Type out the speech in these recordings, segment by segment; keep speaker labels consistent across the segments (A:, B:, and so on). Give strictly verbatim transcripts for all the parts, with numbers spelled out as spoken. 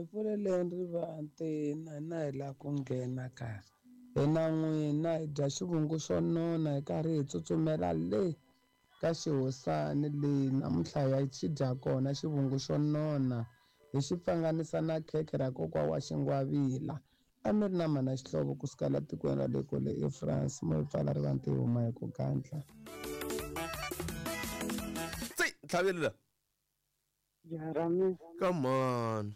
A: Hi pfuleleni rivanti na hina hi lava ku nghena kaya. Hina n'wina hi dya xivungu xo nona hi karhi hi tsutsumela le ka xihosani leyi namuntlha hi ya xi dya kona xivungu xo nona hi xi pfanganisa na khekhe ra kokwa wa xingwavila. A mi ri na mana xihlovo kusuka la tikweni ra le kule eFrance mo hi pfala rivanti hi huma hi ku gandla.
B: Tsi tlhavelela.
C: Jarami.
B: Come on.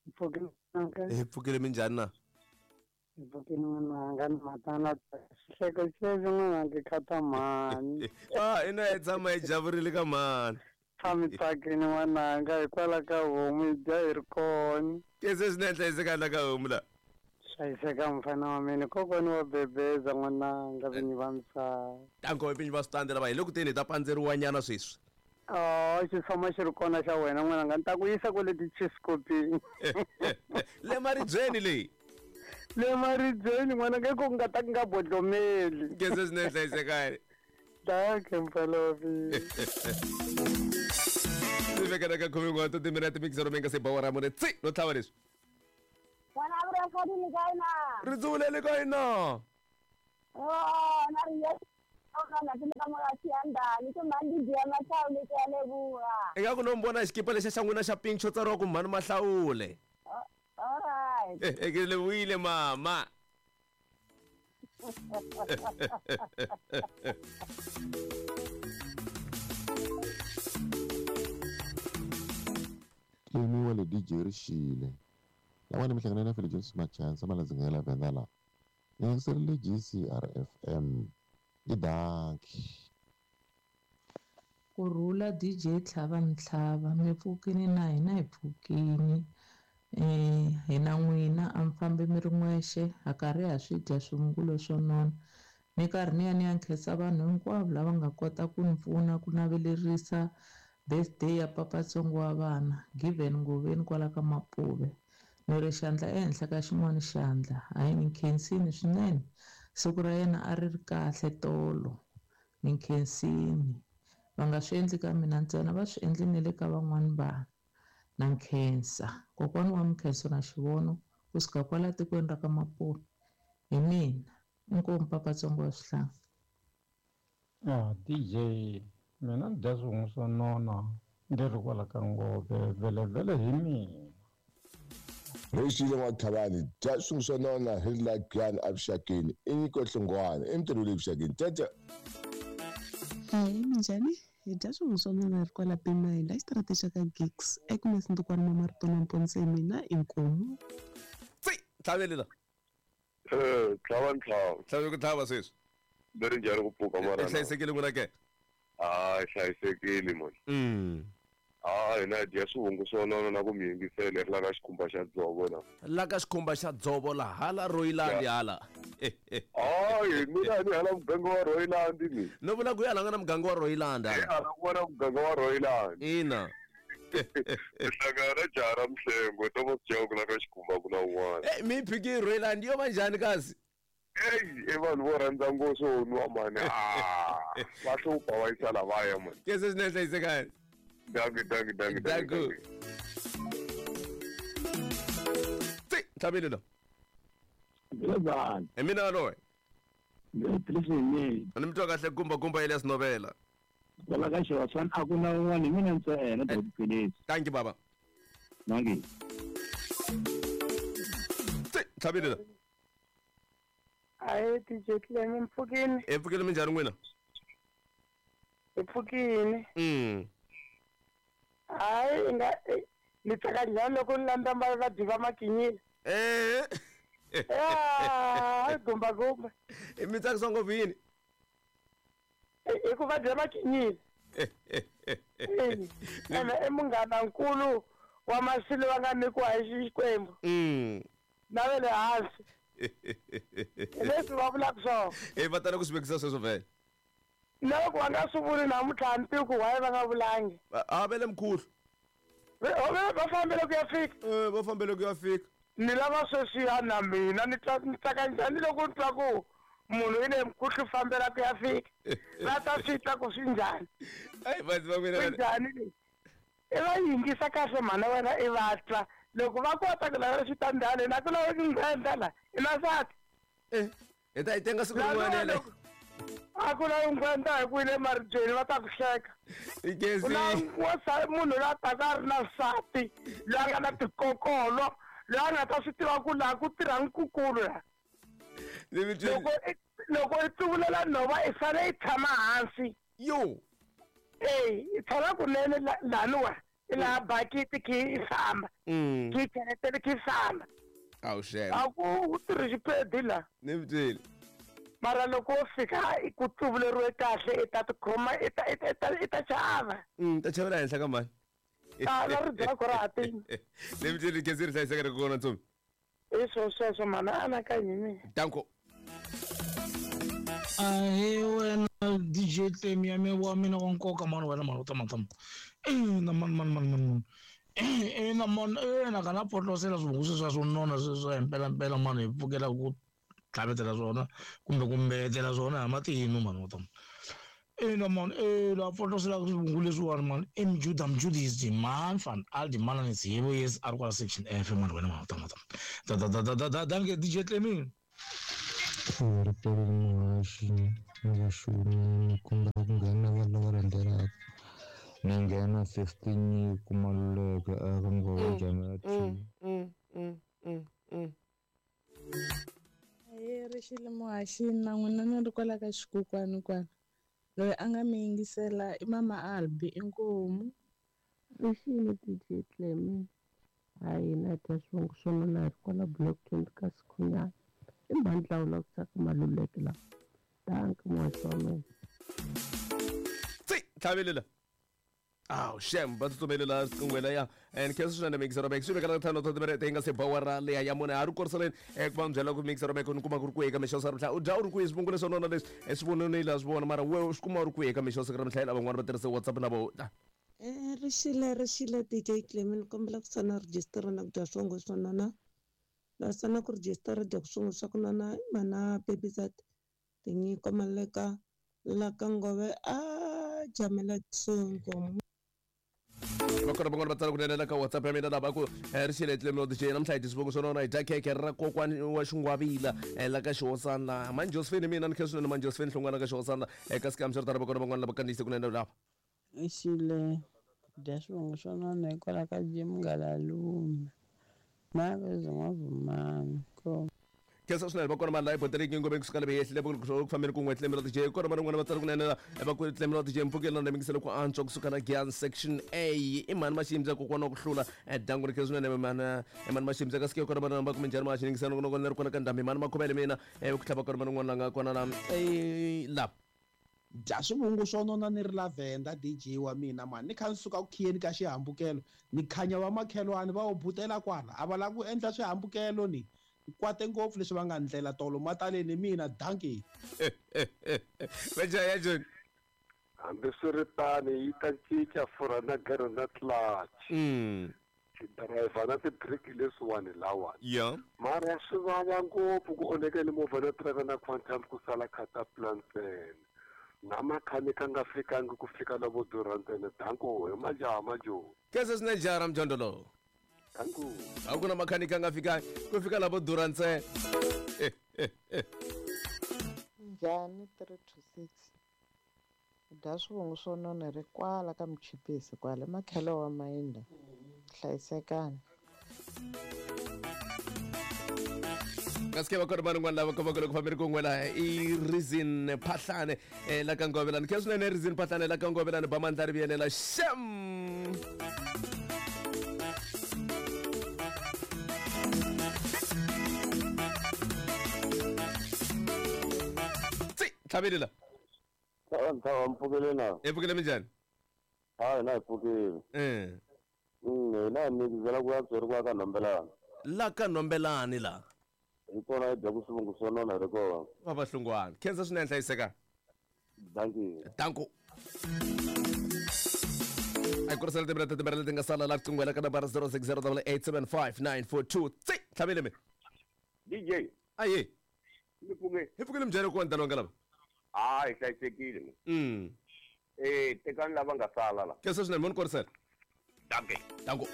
C: Pfukile.
B: Hi pfukile minjhani na?
C: Hi pfukile n'wananga ni matana xihleko xexo n'wananga khata mhani.
B: Ah, ina hi tshama hi javurile ka mhani.
C: Tshami tsakini n'wananga hikwalaho ka homu hi dya hi ri kona.
B: Kese swinene hlayiseka la ka homu la.
C: Hlayiseka mfana wa mina kokwani wa bebeza n'wananga vinyi va misava.
B: Tanko vinyi va switandi lava hi le ku teni hi ta pandzeriwa nyana sweswi.
C: Oh, xi tshama xi ri kona xa wena n'wananga ni ta ku yisa kwale tichiskopini.
B: Le maribyeni leyi.
C: Le maribyeni n'wananga i ku nga ta ku nga bodlomeli.
B: Kese swinene hlayisekani.
C: Danke mfana wa mina.
B: Ni vekela ka khume n'we timinete mixero mi nga se bawa ra mune tsi no tlhava leswi.
D: N'wana a vula foni ka yina.
B: Ri dzulele ka yina.
D: Oh, na ri ya
B: Ingaku no mbona xikipa lexi xa n'wina xa pink xo tsariwa ku mhani Mahlawule.
D: Alright.
B: Ke lebohile mama.
E: Tlemiwa le D J Rixile. Lawani mi hlangana na Philip Jones Machansa malandzi la Venda la. Ni yingiserile G C R F M. I danki.
F: Kurhula D J Tlhava Mtlhava mi pfukini na hina hi pfukini eh hina n'wina a mi fambi mi ri n'wexe ha karhi ha swi dya swivungulo swo nona ni karhi ni ya ni ya nkhensa vanhu hinkwavo lava nga kota ku ni pfuna ku navelerisa birthday ya papatsongo wa vana Given Ngoveni kwala ka Mapuve ni ri xandla ehenhla ka xin'wana xandla hayi ni nkhensini swinene siku ra yena a ri ri kahle tolo ni nkhensini va nga swi endli ka mina ntsena va swi endli ni le ka van'wani vanhu na nkhensa kokwani wa Mkhenso na xivono kusuka kwala tikweni ra ka Mapuve hi mina inkomu papatsongo wa swihlanga.
C: Ah, D J mina ni dya swivungu swo nona ndzi ri kwala ka Ngove vele vele hi mina.
G: Rixile n'wa-Tlhavani dya swivungu swo nona hi ri la Giyani evuxakeni i nyiko Hlongwane i mintirho le vuxakeni tete.
H: Hayi minjhani hi dya swivungu swo nona hi ri kwala Pimayini la xitarateni xa ka Gigs Agnes Ntukwana Mamarito na Mponise mina inkomu.
B: Tsi tlhavelela.
I: Eh tlhava ntlhava.
B: Tlhave ku tlhava sweswi.
I: Leri njhani ku pfuka mara.
B: I hlayisekile n'wina ke?
I: Ah, hlayisekile mani.
B: Mm.
I: Ah, hina dya swivungu swo nona na ku mi yingisela ri la ka xikhumba xa dzovo la.
B: La ka xikhumba xa dzovo la hala Royland hala.
I: Hayi mina ni hala muganga wa Royland ni.
B: No vula ku ya la nga na muganga wa Royland.
I: Eh hala ku va na muganga wa Royland.
B: Ina.
I: Hlangana na jaha ra Mhlengo Thomas Chauke la ka xikhumba ku na un'wana.
B: Eh mi phiki Royland yo va njhani kasi?
I: Ei, i vanhu vo rhandza ngopfu swo nwa mani. Ah, va hlupha va yisa lavaya mani.
B: Kese swinene hlayisekani.
I: Dankie, dankie, dankie, dankie.
B: Tsi tlhavelela.
J: Ngilebani.
B: Hi mina loyi.
J: Ngilebani.
B: Ni mi twa kahle kumba kumba Elias Novela.
J: Kwala ka Xewaswana a ku na un'wana hi mina ntsena Doctor.
B: Thank you baba.
J: Dankie.
B: Tsi tlhavelela.
C: Hayi D J Clem mpfukini.
B: E pfukile minjhani n'wina?
C: Hi pfukini.
B: Mm.
C: Hayi nga ni tsaka njhani loko ni landza va dyi va makinyile.
B: Eh.
C: Ah, gumba gumba.
B: I mi tsakisa ngopfu yini?
C: I ku va dya makinyile. Ene i munghana nkulu wa masilo va nga nyikiwa hi Xikwembu.
B: Mm.
C: Na ve le hansi. Leswi va vulaka swona.
B: Eh va tala ku swi vekisa sweswo vhele.
C: Loko va nga swi vuli namuntlha ni tivi ku why va nga vulangi.
B: A va le mkhulu.
C: Va fambele ku ya fika.
B: Eh va fambele ku ya fika.
C: Ni lava sweswiya na mina ni twa ni tsaka njhani loko ni twa ku munhu i le mkhuhlu fambela ku ya fika. Va ta swi twa ku swi njhani.
B: Ai vanhu va mina.
C: Swi njhani leswi? I va yingisa kahle mhana wena i va twa Loko va kota ku lavela xitandani na ku lava nghwendza la i na nsati
B: eh hi ta yi tenga siku rin'wana le
C: a ku lavi nghwendza hi ku yi le maribyeni va ta ku hleka
B: i
C: u lava munhu loyi a taka a ri na nsati loyi a nga na tikokolo loyi a nga ta swi tiva ku laha ku tirha nkukulu la loko loko i tsuvulela nhova i fanele i tshama hansi
B: yo
C: e i tshama kunene laniwa i laha bakiti khe i famba khe i cheletele khe i famba
B: awu xem
C: a ku u tirhi xipedi la
B: ni mi byeli
C: mara loko wo fika ku tsuvuleriwe kahle i ta tikhoma i ta i ta i ta chava
B: ta chavela henhla ka mani
C: a na ribyako ra ha tini
B: ni mi byeli gezi ri hlayiseka ri kona ntsumi
C: i swo sweswo mana anakanyi mina
B: danko
K: ahe wena D J Tlemi ya mina wa mina wa nkoka mani wena mani u tamatama ina mani mani mani mani ina mani ina kana potlosela swivungu sweswiya swo nona sweswiya hi mpelampela mani hi pfukela ku tlhavetela swona kumbe ku mbetela swona hi matinu mani wa tama ina mani e la potlosela swivungu leswiwani mani i mjuda mjudisi man van aldi mananisi hi vo yes a ri kwala section F mani wena mani wa tamatama da da da da da danke D J Tlemi.
L: Ripelo muhaxi ni vaxumi ni kombela ku nghena vanhu lava landzelaka ni nghena fifteen ku Maluleke eka Nghovo Jamela T.
F: Ahee rixile muhaxi na n'wina ni ri kwala ka xikukwani kwala loyi a nga mi yingisela i mama Albi inkomu.
M: Rixile D J Tlemi hayi na dya swivongo swo nona hi ri kwala block twenty ka Sikhunyana i mhandlawu la ku tsaka Maluleke la danki muhaxi wa mina.
B: Tsi tlhavelela aw xem va tsutsumelela riqingwela ya and khensa swinene mixer back swi vekela ntlhanu ta timinete yi nga se bawara leya ya mune a ri koriseleni ku va mi byela ku mixer back ni kuma ku ri kwihi ka mixo sa ri u dya u ri kwihi swivungu leswo nona leswi swi vonile la swi vona mara we u swi kuma u ri kwihi ka mixo siku ra mihla lava van'wana va tirhise WhatsApp na vo
H: eh rixile rixile D J Tlemi ni kombela ku sana register na ku dya swivongo swo nona la sana ku register dya ku swivongo swa ku nona mana baby zat tinyiko Maleka la ka Ngove a jamela tsongo.
B: Va kona van'wana va tsala kunene la ka WhatsApp ya mina lava ku rixile Tlemi D J namuntlha hi dyi swivongo swo nona hi dya khekhe ra kokwani wa xingwavila la ka xihosana mani Josephine mina ni khe swinene mani Josephine Hlongwana ka xihosana eka sikam swi ri tano va kona van'wana lava kandziyise kunene lava
A: rixile dya swivongo swo nona hikwalaho ka Jim Ngalalume na vezingwavumani ko.
B: Khensa swinene va kona mani laha iboteleki ngome kusuka leve yehlile ku fambeni kun'we Tlemi D J kona mani n'wana va tsala kunene va ku Tlemi D J mpfukeli na mingiselo ku antswa kusuka na Gian section A i mani maximza kokwana ku hlula dangu ri khensa swinene mana i mani maximza ka sike kona mani va ku minjhani ma xiningisano ku ri kona ka ndhambi mani makhomele mina ku tlhava kona mani n'wana la nga kona la la
N: dya swivungu swo nona ni ri lavenda D J wa mina mani ni kha ni suka ku khiyeni ka xihambukelo ni khanya va makhelwani va wu butela kwala a va lava ku endla swihambukelo ni kwate ngopfu leswi va nga ndlela tolo mataleni mina danki
B: veja ya John
I: hambiswiritano yi ta cinca furha na gere na clutch
B: mm
I: driver na ti-brake leswiwani lawani
B: yeah
I: mara swi vava ngopfu ku onhekele movha na driver na quantum ku sala cataplan ntsena na makhanika nga fikangi ku fika lavo durha ntsena danko hi majaha majoni
B: khensa swinene jaha ra mjondo lowo a ku na makhanika nga fikangi ku fika lavo durha ntsena.
O: Njhani three two six dya swivungu swo nona ri kwala ka muchipisi kwala makhelo wa mayinda hlayisekani.
B: Kasi va kona vanhu van'wana lava komaka loko fambeni kun'we laha i Reason Phahlane la ka Ngovelani khensa swinene Reason Phahlane la ka Ngovelani ba mandla ri vuyelela xem. Tlhavelela
P: nthawa mpfukele na
B: hi pfukele minjhani
P: hayi na hi pfukile
B: um
P: hina hi mikizela ku ya byeriwa ka Nhombelani
B: la ka Nhombelani la
P: hi kona hi dyaku swivungu swo nona hi ri kona
B: va va Hlongwane khensa swinene hlayiseka
P: danki
B: danko a hi kurisela timinete timbirhi leti nga sala la riqingwela ka nambara zero six zero double eight seven five nine four two tsi tlhavele mi
P: D J
B: aye
P: mi pfuke
B: hi pfukile minjhani ku ndalwa nga lava
P: a hi hlayisekile
B: mm
P: eh tekani lava nga sala la
B: khensa swinene mo ni korisela
P: danke
B: danko.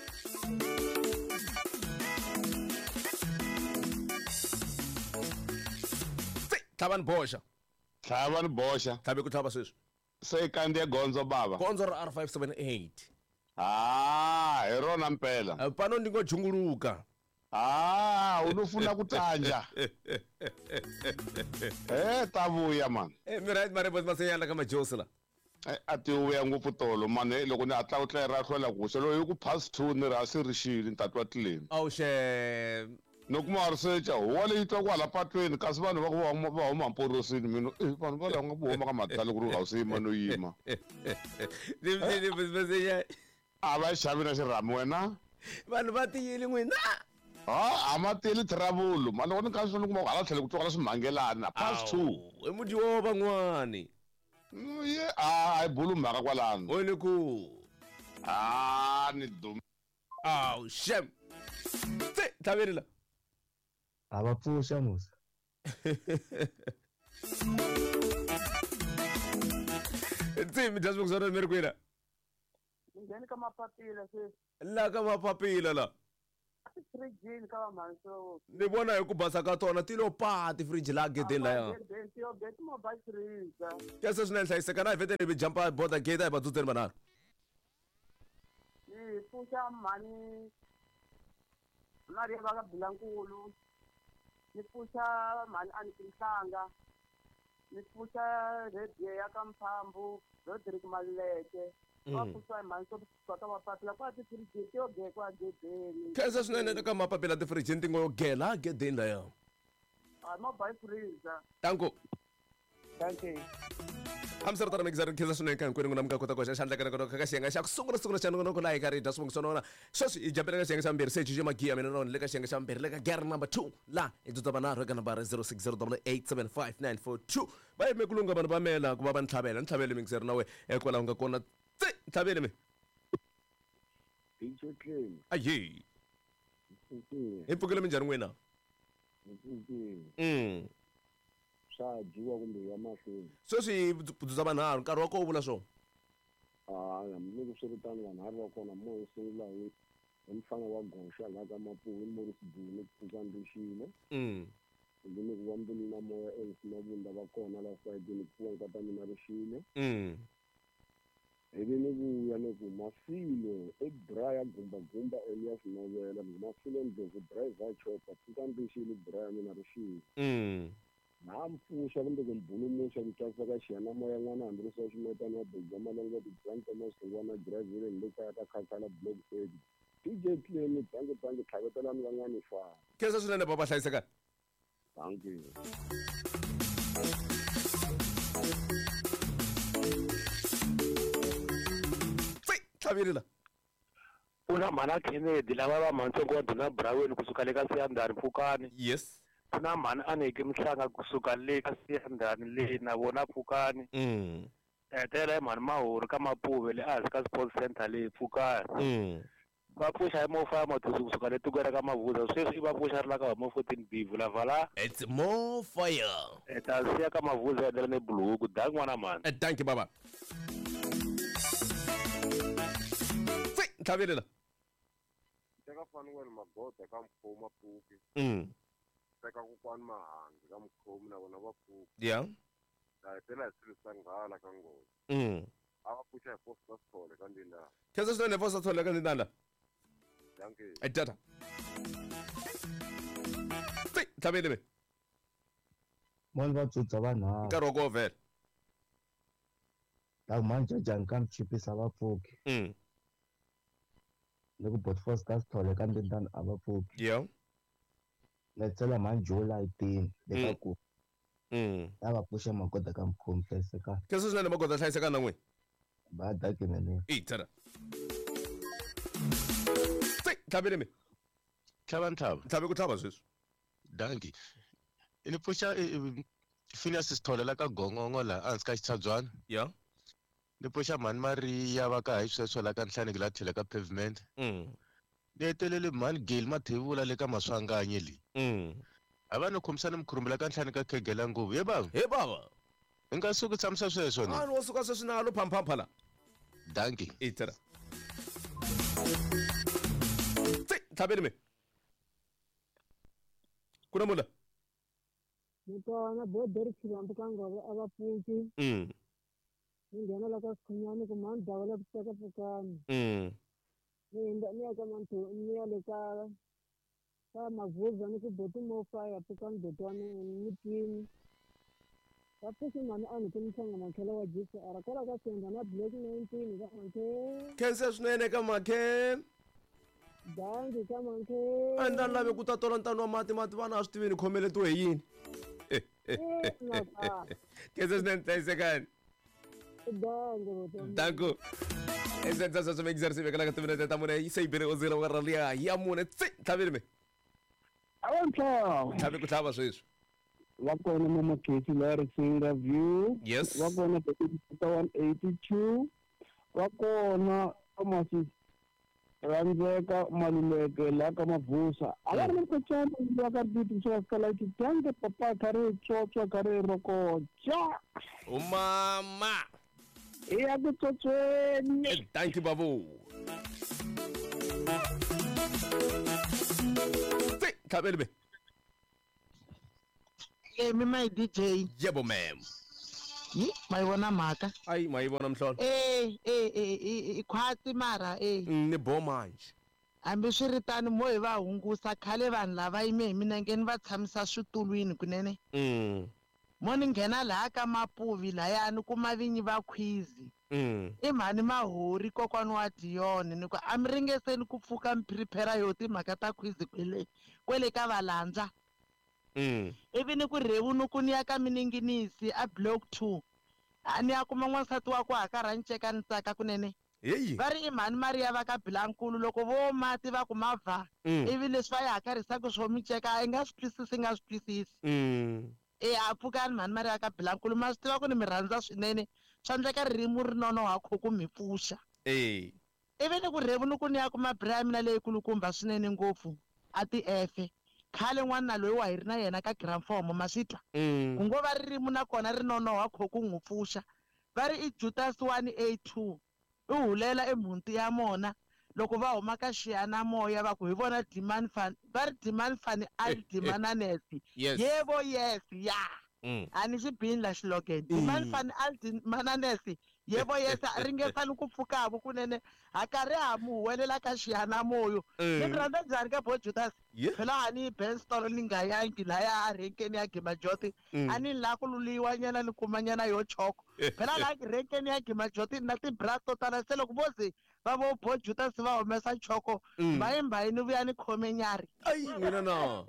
B: Tlhava ni boxa.
G: Tlhava ni boxa.
B: Tlhavi ku tlhava sweswi.
G: Se kandziya gondzo bava.
B: Gondzo ra R five seven eight.
G: Ah, hi rona mpela.
B: Pano ndi ngo junguluka.
G: Ah, unofuna kutanja. Eh, tavuya man.
B: Eh, mi right mare bot masenya la ka majosi la.
G: A ti vuya ngopfu tolo man, loko ni hatla u tlela ra hlwela ku se loyi ku past two ni ra se rixile ni tatwa tlileni.
B: Awu xe.
G: No kuma research huwa leyi twa kwala patweni kasi vanhu va ku va huma mporosini mina eh vanhu va lava nga ku huma ka madala ku ri a wu se yima no yima.
B: Ni ni masenya.
G: A va xavi na xirhami wena.
B: Vanhu va tiyile n'wina.
G: Ah, a ma tiyile travel. Mali loko ni ka swi kuma ku hala tlhelo ku twakala swimhangelana past two.
B: I mudyiwa van'wani.
G: Ye a hi bulu mhaka kwalano.
B: O ni ku.
G: Ah, ni dum.
B: Aw, shem. Tse, tlhaveri la.
L: A va pfuxa musa.
B: Tse, mi dya swivungu mi ri kwini?
D: Ngheni ka mapapila sweswi.
B: La ka mapapila la.
D: Fridge ka va mhanso.
B: Ni vona hi ku basa ka tona ti lo pa ti fridge la gedeni laya. Kese swinene hlayiseka na hi vhete ni jumpa border gate hi vadzudzeni vanharhu.
D: Ni pfuxa mhani Maria va ka Bilankulu. Ni pfuxa mhani Anikinhlanga. Ni pfuxa Radio ya ka Mphambu, Roderick Maluleke.
B: Khensa swinene ka mapapila ti-fridge ti ngo gela gedeni laya. Tanko.
D: Thank you.
B: Hamsirtana mixer khensa swinene ka hinkwenu n'wina mi nga kota ku hoxa xandla ka nongonoko ka xiyenge xa ku sungula sungula xa nongonoko laha hi ka ri dya swivungu swo nona. Sweswi hi jampela ka xiyenge xa mbirhi se J J Magiya mina na le ka xiyenge xa mbirhi le ka gear number two la hi dzudza vanharhu eka nambara zero six zero eight seven five nine four two. Va yime ku lunga vanhu va mela ku va va ni tlhavela ni tlhavele mixer na we kwalaho nga kona. Tse tlhavele mi.
P: D J Clem.
B: Ayi. Hi pfukile minjhani n'wina? Mm.
P: Swa dyiwa kumbe ya mahlweni.
B: Sweswi dzudza vanharhu nkarhi wa koho vula swona.
P: Ah, hambiloko swi ri tano vanharhu va kona mo sungula hi hi mfana wa goxa laha ka Mapuwe Morris Buni pfuka ndixile.
B: Mm.
P: Kumbe ni ku va mbilu na moya Elvis Mabunda va kona la sayidini pfuka nkata mina rixile.
B: Mm.
P: Ivi ni vuya ni ku Mafilo i bra ya gumba gumba Elias Novela ni Mafilo Ndlovu driver chopper pfuka ndixile bra ya mina rixile.
B: Mm.
P: Na mpfuxa kumbe ku mbulumuxa ku tlakusa ka xiyanimoya n'wana hambi ri swa ximetana wa Beza Malenga ti-Brand Thomas Hlongwana Graville ni le kaya ka Khakhala Block eight. D J Clem bangi bangi tlhavetelani van'wana fana.
B: Khensa swinene baba hlayiseka.
P: Thank you.
B: Tlhaveri la.
J: U na mhana Kennedy lava va mhantsongo wa Duna Braweni kusuka le ka Siyandhani Pfukani.
B: Yes.
J: Ku na mhani Aneke Mhlanga kusuka le ka Siyandhani le na vona Pfukani.
B: Mm.
J: Hetela hi mhani Mahori ka Mapuve le ehansi ka Sports Center le Pfukani.
B: Mm.
J: Va pfuxa hi Mofaya Matusi kusuka le tikweni ra ka Mavuza sweswi i va pfuxa ri la ka Homo fourteen B vulavala.
B: It's more fire.
J: Ta siya ka Mavuza endlela ne Buluku da n'wana mhani.
B: Thank you baba. Tse tlhaveri la.
I: Teka Fanuel Magoda ka Mkhoma Pfuki.
B: Mm.
I: Teka kokwani Mahangi ka Mkhomi na vona va pfuki.
B: Yeah.
I: Ta hetela hi swilo swa nghala ka nghozi.
B: Mm.
I: A va pfuxa hi Foster Sithole ka Ndindana.
B: Khensa swinene Foster Sithole ka Ndindana.
I: Thank you.
B: E tata. Tse tlhaveli mi.
L: Mani va dzudza vanharhu.
B: Nkarhi wa koho vhele.
L: La mhani Jajani ka Mchipisa va pfuki.
B: Mm.
L: Ni ku bot Foster Sithole ka Ndindana a va pfuki.
B: Yeah.
L: Letsela mhani July eighteen le ka ku.
B: Mm.
L: La va pfuxa Magoda ka Mkhomi hlayiseka.
B: Khensa swinene Magoda hlayiseka na n'wina.
L: Ba dakine.
B: E tata. Tse tlhaveli mi.
Q: Tlhava ntlhava.
B: Tlhavi ku tlhava sweswi.
Q: Danki. Ni pfuxa Phineas Sithole la ka Gongongo la ehansi ka Xitshabyana.
B: Yeah.
Q: Ni pfuxa mhani Maria va ka hi sweswo la ka Nhlaneki la tlhela ka pavement.
B: Mm.
Q: Ni hetelele mhani Gale Mathevula le ka Maswanganyi le.
B: Mm.
Q: A va ni khomisana mikhurumbi la ka Nhlani ka Khegela nguvu. Ye baba.
B: He baba.
Q: Hi nga suki tshamisa sweswo ni.
B: A ni wo suka sweswi na lo phamphampha la.
Q: Danki.
B: E tata. Tse tlhaveli mi. Ku na mula.
R: Ni kona boderi Xilambu ka Ngove a va pfuki.
B: Mm.
R: Ni nghena la ka Sikhunyani ku mhani Dawula ku teka pfukani.
B: Mm.
R: Ni hindza ni ya ka Manthu ni ya le ka ka Mavuza ni ku boti mo fire pfukani boti wa mina ni twini. Va pfuki mhani a ni ku ni makhelo wa G C R kwala ka Senda na Black nineteen ka Mankhe.
B: Khensa swinene ka Mankhe.
R: Dangi ka Mankhe.
B: A ndzi lave ku ta tola ntano wa mati mati vana a swi tivi ni khomeletiwe hi yini. Khensa swinene hlayisekani.
R: Dangi.
B: Danko. Esenza swa exercise vekela ka timinete ta mune yi se yi bile o zero wa raliya ya mune tsi tlhavile me.
S: Awantlhawu.
B: Tlhavi ku tlhava sweswi.
S: Va kona Mama Khetsi la Risinga View.
B: Yes.
S: Va kona one eighty two. Va kona Thomas Randzeka Maluleke la ka Mavusa. A va ri na mkhacana la ka Titi swa kala ki tyange papa kare tsotswa kare rokocha.
B: Umama.
S: Iya ku tsotsweni.
B: Thank you babu. Tsi tlhavele me.
T: Emi my D J.
B: Yebo ma'am.
T: Yi mayivona mhaka.
B: Ayi mayivona mhlolo.
T: Eh eh eh i khwatsi mara eh.
B: Ni bo manje.
T: Hambiswiritano mo hi va hungusa khale vanhu lava yime hi minengeni va tshamisa switulwini kunene.
B: Mm.
T: Mo ni nghena laha ka Mapuvi lahayani kuma vinyi va khwizi.
B: Mm.
T: I mhani Mahori kokwana wa Dion ni ku a mi ringeseni ku pfuka mi prepare yo timhaka ta khwizi kwele kwele ka valandza.
B: Mm.
T: Ivi ni ku rhevunuku ni ya ka mininginisi a block two. A ni ya kuma n'wansati wa ku hakarha ni ceka ni tsaka kunene.
B: Hey.
T: Va ri i mhani Maria va ka Bilankulu loko vo mati va ku mavha.
B: Mm.
T: Ivi leswi va yi hakarhisaka swo mi ceka i nga swi twisisi i nga swi twisisi.
B: Mm.
T: E a pfukani mhani Maria ka Bilankulu ma swi tiva ku ni mi rhandza swinene swa endleka ririmi ri nonoha kho ku mi pfuxa.
B: Eh.
T: Ivi ni ku rhevunuku ni ya kuma bra ya mina leyikulukumba swinene ngopfu a ti efe. Khale n'wana loyi wa hi ri na yena ka Gramfomo ma swi twa.
B: Mm.
T: Ku ngo va ririmi na kona ri nonoha kho ku n'wi pfuxa. Va ri i Judas one A two. I hulela emhunti ya mona loko va huma ka xiyanimoya va ku hi vona demand fan va ri demand fan al demananesi.
B: Yes.
T: Yebo yes ya.
B: Mm.
T: A ni xi bini la xilogen. Demand fan al demananesi. Yebo yes ringesani ku pfukavo kunene ha karhi ha mu huwelela ka xiyanimoyo.
B: Mm.
T: Ni mi rhandza njhani ka bo Judas?
B: Yeah.
T: Phela a ni Ben Stolo ni nga yangi laya a renkeni ya Gimajoti.
B: Mm.
T: A ni la ku luliwa nyana ni kuma nyana yo choko. Phela la renkeni ya Gimajoti na ti-bra to tala se loko vo ze va vo bo Judas va humesa choko
B: Mm.
T: mbayimbayi ni vuya ni khome nyarhi.
B: Ayi mina na.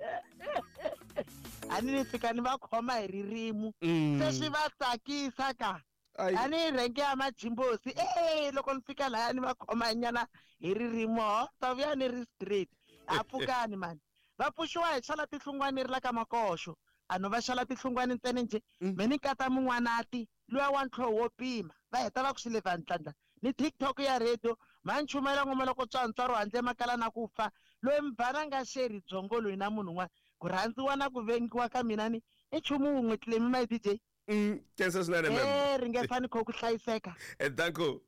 T: A ni ni fika ni va khoma hi ririmi.
B: Mm.
T: Se swi va tsakisa ka.
B: Ayi.
T: A ni rhenke ya majimbosi eh loko ni fika laya ni va khoma nyana hi ririmi ho ta vuya ni ri straight. A pfukani mani. Va pfuxiwa hi xala tihlungwani ri la ka Makoxo. A no va xala tihlungwani ntsena njhe. Me ni kata mun'wanati luya wa ntlhoho wo pima. Va heta va ku swi leva ntlhandla. Ni TikTok ya radio ma nchumela ngoma loko tswantswaro handle makala na ku fa. Loyi mbhana nga sheri byongo loyi na munhu un'wana. Ku rhandziwa na ku vengiwa ka mina ni i nchumu wun'we Clemi my D J.
B: Mm, khensa swinene ma'am.
T: Eh ringesani kho ku hlayiseka.
B: Eh danko.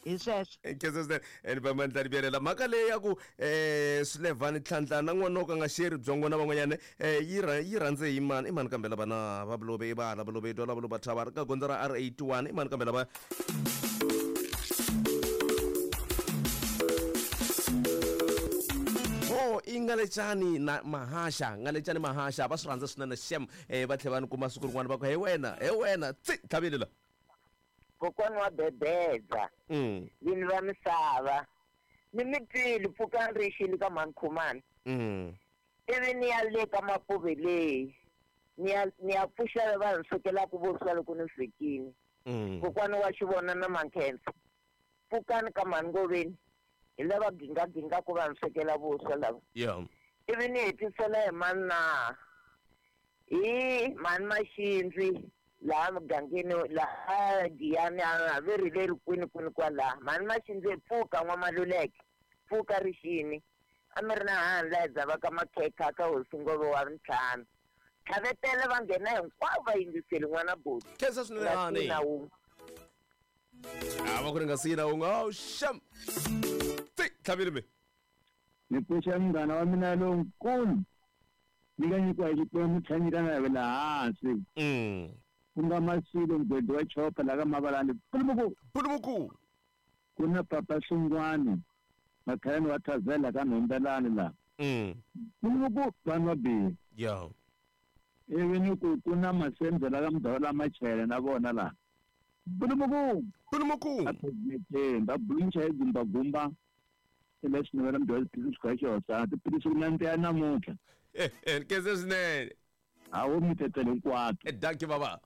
T: Hi sweswo.
B: Khensa swinene. Ene va mandla rivyelela mhaka leyi ya ku eh Swilevani Tlhandla na n'wana wo ka nga sheri byongo na van'wanyana eh yi yi rhandze hi mani i mani kambe lava na va Bulobe i va la Bulobe dwa la Bulobe thava ka gondzo ra R eighty-one i mani kambe lava Oh i Ngalecani na Mahasha Ngalecani Mahasha va swi rhandza swinene shem eh va tlhela va ni kuma siku rin'wana va ku he wena he wena tsi tlhavile la.
U: Kokwana wa bebedza.
B: Mm.
U: Vini va misava. Ni mi twile pfukani ri xile ka mhani Khumani.
B: Mm.
U: Ivi ni ya le ka Mapuve leyi. Ni ya ni ya pfuxa vanhu swekelaka vuswa loko ni fikile.
B: Mm.
U: Kokwana wa xivona na Mankhensa. Pfukani ka mhani Ngoveni. Hi lava gingaginga ku vanhu swekela vuswa lava.
B: Yeah.
U: Ivi ni hetisela hi mani na hi mhani Maxindzi laha mugangeni laha Giyani a ve ri leri kwini kwini kwalaha. Mhani Maxindzi pfuka n'wamaluleke pfuka rixini a mi ri na hani laha hi dzavaka makhekha ka hosi Ngove wa ntlhanu. Tlhavetele va nghena hinkwavo va yingiseli n'wana buti.
B: Khensa swinene hani.
U: Na wun'we.
B: A va ku ri nga siyi na wun'we. Oh sham. Tsi tlhavile me.
S: Ni pfuxa munghana wa mina lonkulu Ni ka nyikiwa hi Xikwembu tlhela nyika na vela hansi.
B: Mm.
S: Ku nga Masilo mugwedi wa chopa la ka Mavalani. Pulumuku.
B: Pulumuku.
S: Ku na Papa Hlungwani. Makhalani wa Thavela ka Nhombelani la.
B: Mm.
S: Pulumuku vanhu va bihi.
B: Yeah.
S: Ivi ni ku ku na Masendzo la ka Mudawula Machele na vona la. Pulumuku.
B: Pulumuku.
S: A president ba buluncha hi gumba gumba. Leswi ni vona mudawula tiphilisi ka xihosana tiphilisi ku nandziha namuntlha.
B: Eh eh keze swinene.
S: A wo mi tetele hinkwato.
B: Eh dankie baba.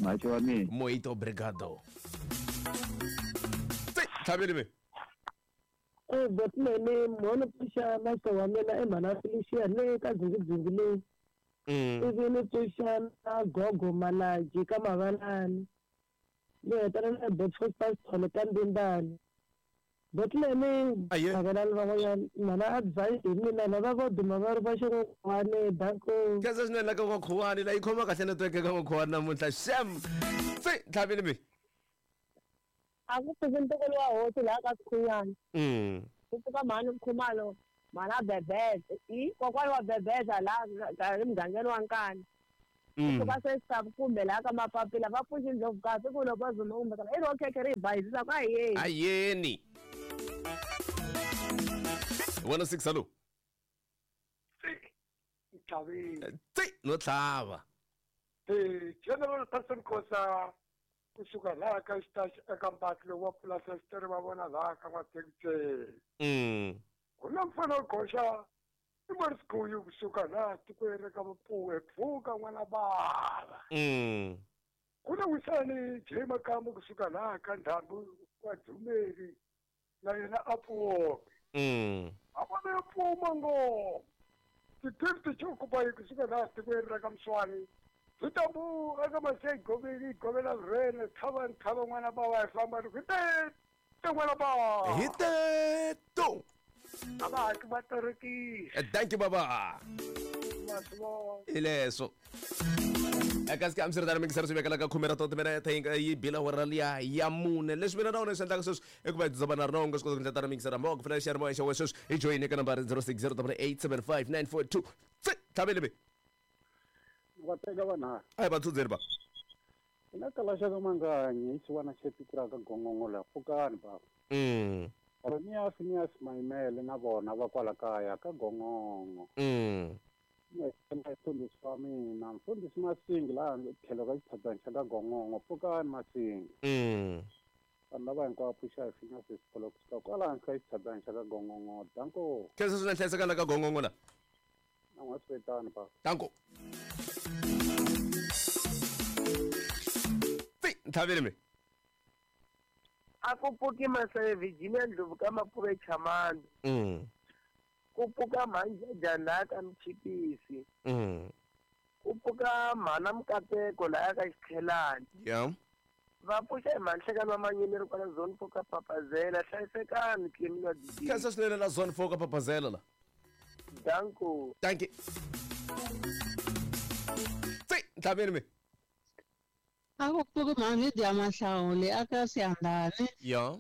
S: Macho wa mina.
B: Muito obrigado. Tlhaveli me.
R: Eh botmene mona pfuxa master wa mina i mhana Felicia le ka dzingidzingi leyi.
B: Mm.
R: Ivi ni pfuxa na gogo Malaji ka Mavalani. Ni hetelela na Botfos Pastor ka Mbimbani. Botmene Mavalani van'wanyana mhana advice hi mina lava vo duma va ri va xin'wana danko.
B: Keze swinene la ka N'wakhuwani la yi khoma kahle network ka N'wakhuwani namuntlha xem. Tsi tlhaveli me.
E: A ku pfuki ntukulu wa hosi laha ka Sikhunyana.
B: Mm.
E: Ku pfuka mhani Khumalo, mhana Bebeza, i kokwani wa Bebeza laha ka emugangeni wa Nkani. Ku pfuka se kumbe laha ka Mapapila va pfuxi Ndlovukazi ku loko va zuma kumbe kana i ro khekhe ri hi bayizisa ku a hi yeni.
B: A yeni. one oh six hello.
I: Tlhavile.
B: Tsi no tlhava.
I: Eh General Person Khosa kusuka laha ka xitaxi eka mpahla wa pulasi va vona laha ka N'wathekiseni.
B: Mm.
I: Ku na mfana wo goxa i Marisikuyu kusuka laha tikweni ra ka Mapuwe pfuka n'wana bava.
B: Mm.
I: Ku na Wisani J Makamu kusuka laha ka Ndhambi wa Dzumeri na yena a pfuke.
B: Mm.
I: A vona ya pfuma ngopfu. Ti-fifty chokubayi kusuka laha tikweni ra ka Mswani. Zwitambu eka Masei Goveli Govela Rhene tlhava ntlhava n'wana bava hi famba ni ku te te n'wana bava.
B: Hi teto.
I: A va hatli va terekisa.
B: Thank you baba.
I: Masivona.
B: Hi leswo. Eka sika hambiswiritano mingisero swi vekela ka khume ra timinete yi bila awara liya ya mune leswi mina na wena swi endlaka sweswi i ku va hi dzobana na rona u nga swi kota ku ndlela mingisera mhaka ku fanele xiyanimoya xa wena sweswi hi joyini eka nambara zero six zero double eight seven five nine four two. Tsi tlhaveli me.
V: Va teka vanharhu.
B: A hi vatsundzeni ba.
V: Ina kalaxa ka Manganyi i xiwana xa tiko ra ka Gongongo la pfukani baba.
B: Mm.
V: Ronias Nias Maimele na vona va kwala kaya ka Gongongo.
B: Mm.
V: Mfundhisi wa mina mfundhisi Masingi laha tlhelo ka xitshadani xa ka Gongongo pfukani Masingi.
B: Mm.
V: Vanhu lava hinkwavo pfuxa hi finya swisikolo kusuka kwalaho ka xitshadani xa ka Gongongo danko.
B: Khensa swinene hlayiseka la ka Gongongo la.
V: Na n'wa swi baba.
B: Danko. Tsi tlhaveli me.
U: A ku pfuki Maseve Virginia Ndlovu ka Mapuve Chamani.
B: Mm.
U: Ku pfuka Mhanjajani laha ka Mchipisi.
B: Mm.
U: Ku pfuka Mhana Mukateko laha ka Xikhelani.
B: Yeah.
U: Va pfuxa hi Manhlekani wa Manyini ri kwala zone four ka Papazela hlayisekani Clemi wa D J.
B: Khensa swinene la zone four ka Papazela la.
U: Danko.
B: Thank you. Tsi tlhaveli me.
W: A ku pfuki mhani dya Mahlawuli aka Siyandhani.
B: Yeah.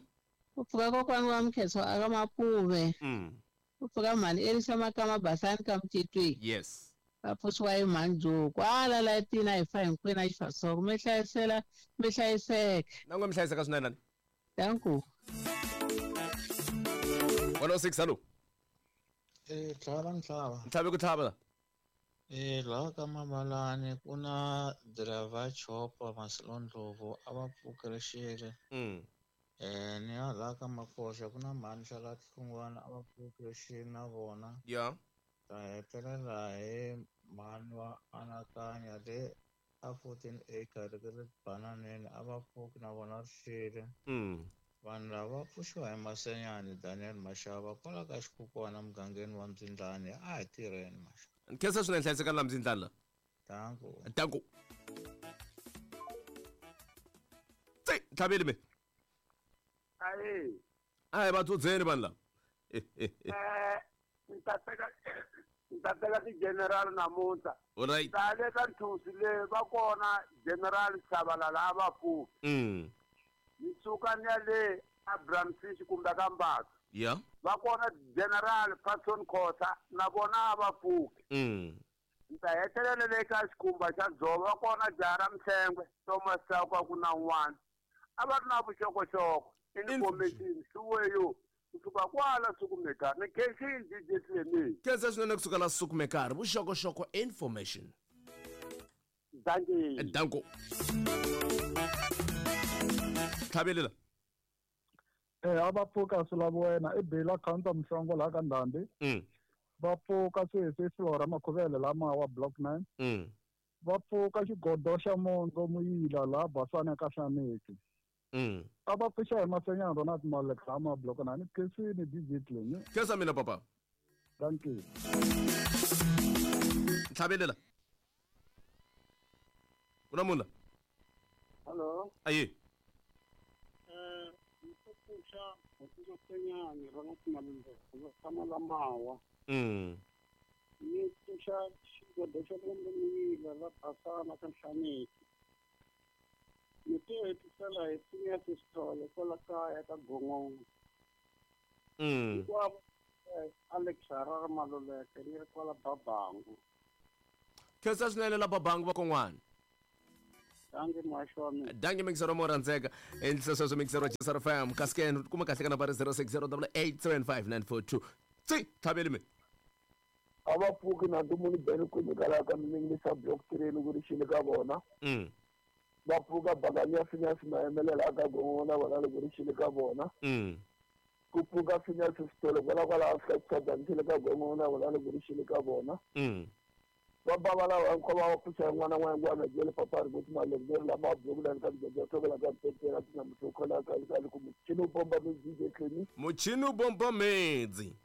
W: Ku pfuka kokwani wa Mkhetso aka Mapuve.
B: Mm.
W: Ku pfuka mhani Elisa Makama Basani ka Mtitwi.
B: Yes.
W: Va pfuxiwa hi mhani Joe kwala la tina hi fa hinkwenu a xifasoko mi hlayisela mi hlayiseka.
B: Na n'we mi hlayiseka swinene ni.
W: Danko.
B: one oh six hello.
L: Eh tlhava ntlhava.
B: Ntlhavi ku tlhava la.
L: Eh laha ka Mabalani ku na driver chopper Masilo Ndlovu a va pfukile xile.
B: Mm.
L: Eh ni ya laha ka Makoxa ku na mhani Xala Hlungwana a va pfukile xile na vona.
B: Yeah.
L: Ta hetelela hi mhani wa Anakanya le a fourteen acre ri ri bananeni a va pfuki na vona ri xile.
B: Mm.
L: Vanhu lava pfuxiwa hi Masenyani Daniel Mashava kwala ka Xikukwana mugangeni wa Mdzindlani a hi tirheni Mashava.
B: Khensa swinene hlayisekani la Mdzindlani la.
L: Danko.
B: Danko. Tsi tlhaveli me.
C: Ayi.
B: A hi vatsudzeni vanhu lava.
C: Eh ni ta teka ni ta teka ti-general namuntlha.
B: Alright.
C: Ta le ka Nthusi le va kona General Shabalala a va pfuki.
B: Mm.
C: Ni suka ni ya le Abraham Fish kumbe ka Mbaka.
B: Yeah.
C: Va kona General Patson Khosa na vona a va pfuki.
B: Mm.
C: Ni ta hetelela le ka xikhumba xa dzova kona jaha ra Mhlengwe Thomas Chauke ku na un'wana a va ri na vuxokoxoko information swiweyo kusuka kwala Sukumekari ni khensini D J Clemi.
B: Khensa swinene kusuka la Sukumekari vuxokoxoko information.
C: Dankie.
B: Danko. Tlhavelela.
F: Eh a va pfuka swi lava wena i Bela Counter Mhlongo laha ka Ndhambi.
B: Mm.
F: Va pfuka sweswi Flora Makhuvele lama wa block nine.
B: Mm.
F: Va pfuka xigodo xa Mondzo Muyila laha Basana ka Hlaneki.
B: Mm.
F: A va pfuxa hi Masenyana Ronald Malek lama block nine khensini D J Clemi.
B: Khensa mina papa.
F: Dankie.
B: Tlhavelela. Kuna munhu la?
V: Hello.
B: Ayi.
V: Eh, pfuxa Masenyana Ronald Malek va tshama la Mawa.
B: Mm.
V: Ni pfuxa xigodo xa Mondzo Muyila la Basana ka Hlaneki. Ni te hetisela hi Phineas Sithole kwala kaya ka Gongongo.
B: Mm.
V: Hinkwavo Alex Harare Maluleke ni ri kwala Babangu.
B: Khensa swinene la Babangu va kon'wana.
V: Dankie muhaxi wa mina.
B: Dankie mixero mo rhandzeka. Endlisa sweswo mixero wa J S R F M. Kasi kuma kahle ka nambara zero six zero double eight seven five nine four two. Tsi, tlhaveli mi.
K: A va pfuki na ntumuni beni ku nyikala ka miningisa block three loko ri xile ka vona.
B: Mm.
K: Va pfuka bakani ya Phineas Mayemelela ka Gongongo na vona loko ri xile ka vona.
B: Mm.
K: Ku pfuka Phineas Sithole kwala kwala Afrika Dzonga xile ka Gongongo na vona loko ri xile ka vona.
B: Mm.
K: Va bava lava hinkwavo va pfuxa n'wana n'wana n'wana jele papa ri kuti malembe lama block la ka Dzonga tokela ka Petera tina mutokhola ka ka ku muchini u bomba mi D J Clemi.
B: Muchini u bomba medzi.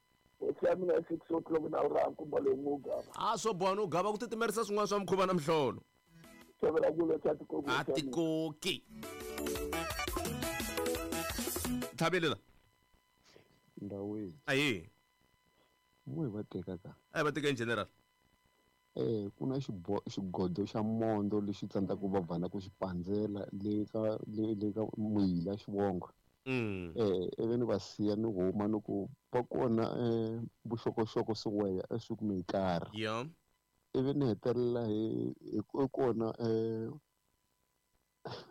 K: Hosi ya mina six o'clock na ura nkumba lowu n'wi gava.
B: A swo boha no gava ku titimerisa swin'wana swa mukhuva na mihlolo.
K: Tshovela ku leta tikoki.
B: A tikoki. Tlhavelela.
P: Ndawini.
B: Ayi.
P: N'we va teka ka.
B: A va teka in general.
P: Eh ku na xibo xigodo xa Mondo lexi tsandzaka va vana ku xi pandzela le ka le le ka Muyila xivongo.
B: Mm.
P: Eh ivi ni va siya ni huma ni ku va kona eh vuxokoxoko swiweya eSukumekari.
B: Yeah.
P: Ivi ni hetelela hi hi kona eh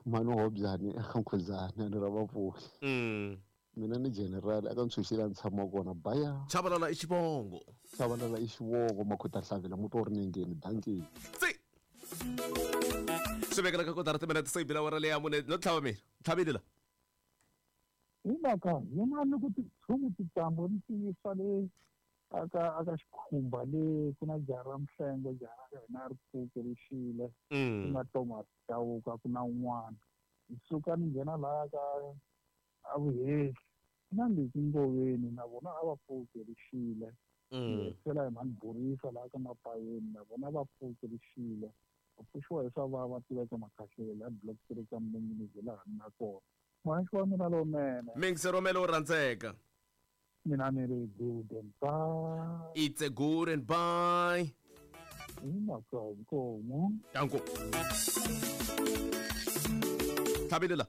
P: Manu Hobyani eka Nkhuzana ni ra vapfuki.
B: Mm.
P: Mina ni general aka ntshunxile ni tshama kona baya.
B: Chabalala i xivongo.
P: Chabalala i xivongo Makhota Hlavela muti wa ri nengeni dankie.
B: Tsi. Swi vekela ka kotara timinete se yi bila wara leya mune no tlhava mina. Tlhavile la.
F: Hi mhaka yin'wana ni ku titshumu titambo ni tiyisa le aka aka xikhumba le ku na jaha ra Mhlengwe jaha ra hina ri pfuke ri xile.
B: Mm.
F: Ku na Thomas Chauke ku na un'wana. Ni suka ni nghena laha ka a Vuhehli na Leki Ngoveni na vona a va pfuke ri xile.
B: Mm.
F: Hetisela hi Mhani Borisa laha ka Mapayeni na vona va pfuke ri xile. Va pfuxiwa hi swa va va tiveka Makhahlele a block three ka Mninginisi laha ni nga kona. Muhaxi wa mina lowunene.
B: Mixero mele wo rhandzeka.
F: Mina ni ri good and bye.
B: It's a good and bye.
F: Hi mhaka inkomu.
B: Danko. Tlhavelela.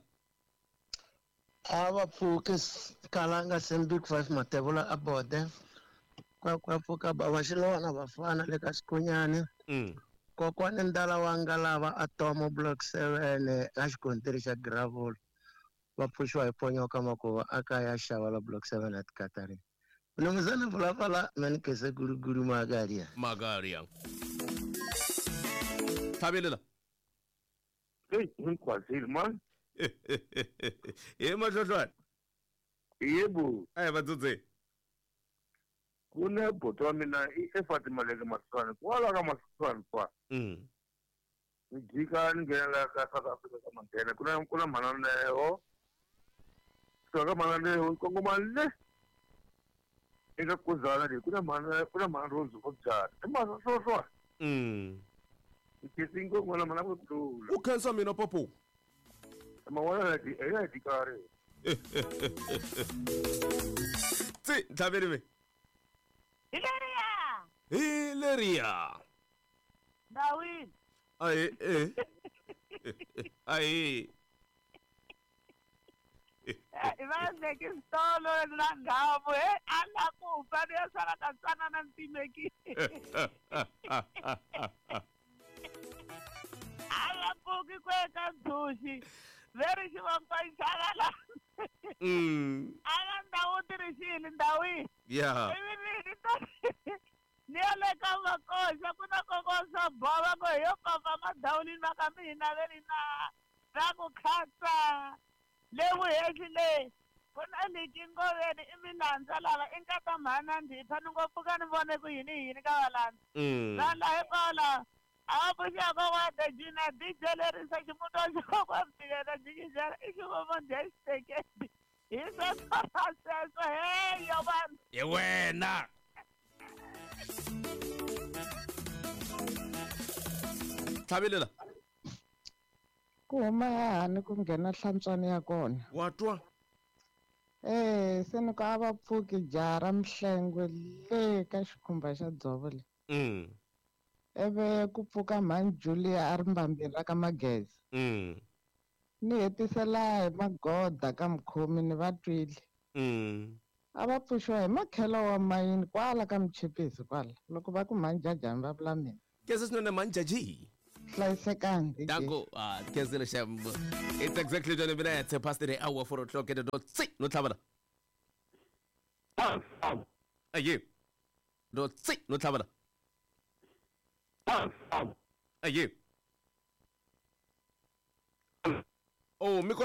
M: A va pfuki Kalanga Sem Big Five Matevula a bode. Kwa kwa pfuka bava Xilwana vafana le ka Xikunyani.
B: Mm.
M: Kokwani Ndala wa Ngalava a Tomo block seven ka xikontiri xa gravel. Va pfuxiwa hi Ponyoka Makuva a kaya xava la block seven at Katarin. Mnumzana Vulafala manikese guruguru magaria.
B: Magaria. Tlhavelela.
X: Hey, ngikwazile man.
B: Ye mahlohlwane.
X: Yebo.
B: Ayi vatsotse.
X: Kune buti wa mina i Efati Maleke Maswana kwala ka Maswana kwa.
B: Mm.
X: Ni jika ni nghena la ka South Africa ka Mandela kuna kuna mhana Leho. So ka mhana Leho kongoma le. Eka Kuzana le kuna mhana kuna mhana Rose Hobyana. I mhana Hlohlwane.
B: Mm.
X: Ni ngoma mhana ku tlula.
B: U khensa mina papu.
X: Mawala la di ya di kare.
B: Tsi, tlhaveli mi.
E: Hileria.
B: Hileria.
E: Ndawini.
B: Ayi eh. Ayi.
T: Va veke xitolo na nghavu he a la ku fa ni ya sala ka tsanana ni timekile. A la pfuki ku eka ntshunxi veri xivangwa xava la.
B: Mm.
T: A nga ndhawu ti ri xini ndhawu yihi.
B: Yeah.
T: Ivi ni ni ta ni ya le ka makoxa ku na kokosa bova ku hi yo papa madawulini va ka mina ve ri na ra ku khatsa le vuhehli le ku na liki ngoveni i milandza lava i nkata mhana ndhipha ni ngo pfuka ni vone ku yini yini ka valandza.
B: Mm.
T: Vanhu laha hinkwavo lava a va pfuxaka kokwana Dejina D J lerisa ximuti wa xikokwana Mtikela jikijela i xivomo dya xiteketi hi sweswo ra sweswo heyo vanhu.
B: Hi wena. Tlhavelela.
A: Ku huma hani ku nghena hlantswani ya kona.
B: Wa twa?
A: Eh, se ni ku a va pfuki jaha ra Mhlengwe le ka xikhumba xa dzovo le.
B: Mm.
A: Ivi ku pfuka mhani Julia a ri mbambeni ra ka Mageza.
B: Mm.
A: Ni hetisela hi magoda ka mukhomi ni va twile.
B: Mm.
A: A va pfuxiwa hi makhelo wa mayini kwala ka Mchipisi kwala. Loko va ku mhani Jajani va vula mina.
B: Kese swinene mhani Jaji.
A: Hlayisekani D J.
B: Danko. Ah, kese xem. It's exactly twenty minutes past the hour, four o'clock at the dot. Si, no tlhavela. Aye. Dot si, no tlhavela. Aye. Oh, mi ko